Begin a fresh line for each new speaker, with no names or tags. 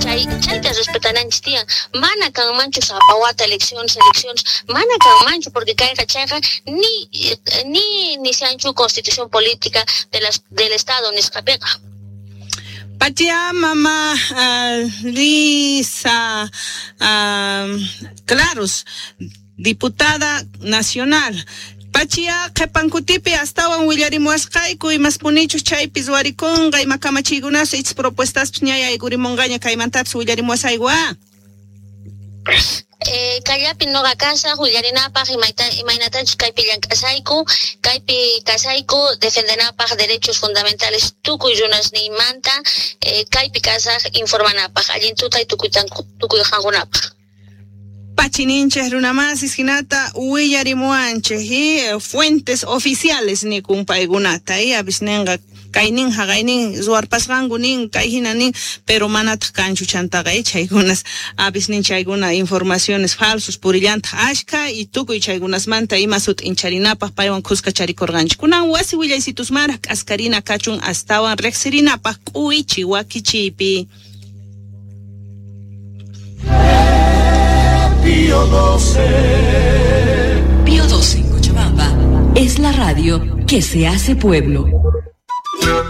Chay chayta respetananchis tiyan. Mana kanmanchu sapa wata elecciones, elecciones, mana kanmanchu porque kayqa chayqa ni ni nishanchu constitución política de las del Estado nisqapiqa.
Patia mama Lisa Claros, diputada nacional. Pachia qhipankutipi astawan willarimuwasqayku imaspunichus chaypi ruwarikunqa ima kamachiykunas ich propuestaspis ña yaykurimunqaña kaymantapis willarimuwasayku a.
Kallapi noqa kasaq willarinapaq imaynatachus kaypi llank'asayku, kaypi kasayku defendenapaq derechos fundamentales tukuy runasniymanta, kaypi kasaq informanapaq allin tutay tukuy qankunapaq.
Pachininchej runamasis hinata willarimuwanchej y fuentes oficiales nikun paykunata y avisninqa kaynin haqaynin ruwarpasqanku nin kay hina nin pero manataq kanchu chantaqa chaykunas avisnin chaykuna informaciones falsos purillantaq ashka y tukuy chaykunasmanta ima sut'incharinapaq paywan khuska charikurqanchik kunan wasi willaysitusmanraq k'askarina kachun astawan riqsirinapaq k'uwichi wakichiypi.
Pío 12.
Pío 12 en Cochabamba es la radio que se hace pueblo.